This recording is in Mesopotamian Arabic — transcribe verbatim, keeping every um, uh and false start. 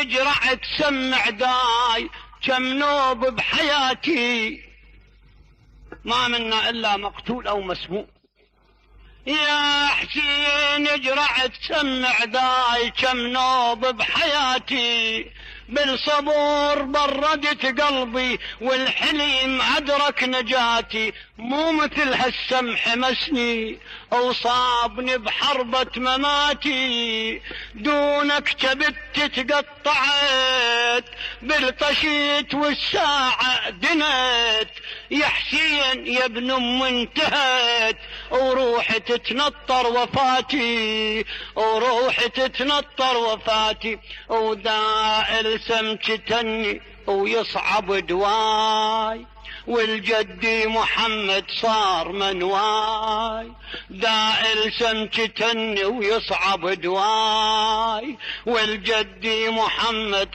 اجرعت سمع داي كم نوب بحياتي ما منا الا مقتول او مسموم. يا حسين اجرعت سمع داي كم نوب بحياتي بالصبور بردت قلبي والحليم أدرك نجاتي. مو مثل هالسمح مسني وصابني بحربة مماتي دونك كبت تقطعت بالطشيت والساعة دنت. يا حسين يا ابن ام انتهت وروحي تتنطر وفاتي وروحي تتنطر وفاتي. ودائل سمكتني ويصعب دواي والجدي محمد صار منواي. دائل سمكتني ويصعب دواي والجدي محمد